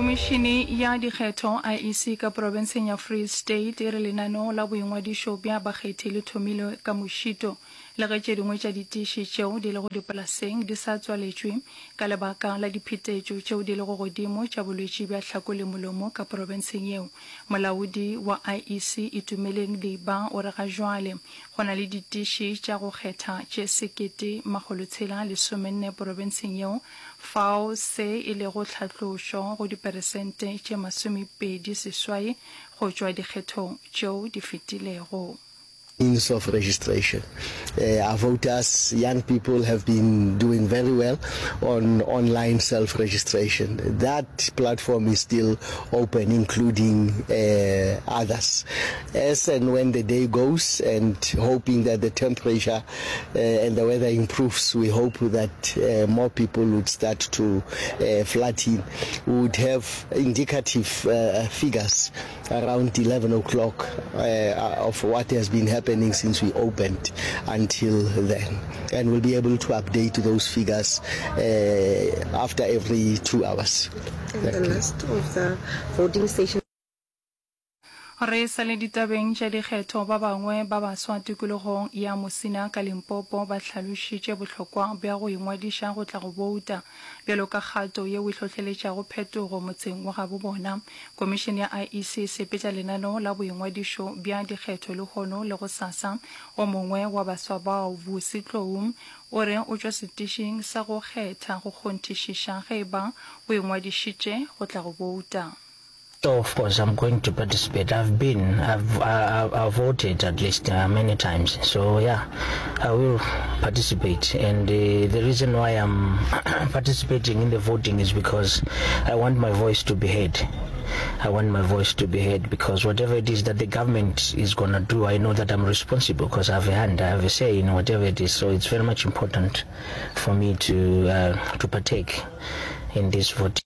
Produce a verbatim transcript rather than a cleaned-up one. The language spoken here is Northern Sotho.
Komišene ya Dikgetho, I E C, ka profenseng ya Free State e re lenaneo la boingwadišo bja bakgethi le thomilwe ka mošito le ge tše dingwe tša ditiši tšeo di lego dipolaseng di sa tswaletšwe ka lebaka la diphetetšo tšeo di lego godimo tša bolwetši bja hlako le molomo ka profenseng yeo. Molaodi wa I E C Itumeleng Leaba o re ga jwale go na le ditiši tša go kgetha tše sekete makgolotshela lesomenne profenseng yeo, fao se e lego tlhatlošo go diperesente tše masomepedi seswai go tšwa dikgethong tšeo di fetilego. Means of registration. Uh, our voters, young people, have been doing very well on online self-registration. That platform is still open, including uh, others. As and when the day goes, and hoping that the temperature uh, and the weather improves, we hope that uh, more people would start to uh, flood in. We would have indicative uh, figures around eleven o'clock uh, of what has been happening since we opened until then. And we'll be able to update those figures uh, after every two hours. And the last of the voting stations. Re sa le ditabeng tša dikgetho, ba bangwe ba baswa tikologong ya Musina ka Limpopo ba hlalošitše bohlokwa bja go ingwadiša go tla go bouta bjalo ka kgato yeo e hlohleletšago phetogo motseng wa gabo bona. Komišene ya I E C e sepetša lenaneo la boingwadišo bja dikgetho lehono le gosasa. O mongwe wa baswa bao, Vusi Tlou, o re o tšwa setišing sa go kgetha go kgonthišiša ge e ba o ingwadišitše go tla go bouta. So of course I'm going to participate. I've been, I've, I, I've voted at least uh, many times. So yeah, I will participate. And uh, the reason why I'm participating in the voting is because I want my voice to be heard. I want my voice to be heard because whatever it is that the government is going to do, I know that I'm responsible because I have a hand, I have a say in whatever it is. So it's very much important for me to, uh, to partake in this voting.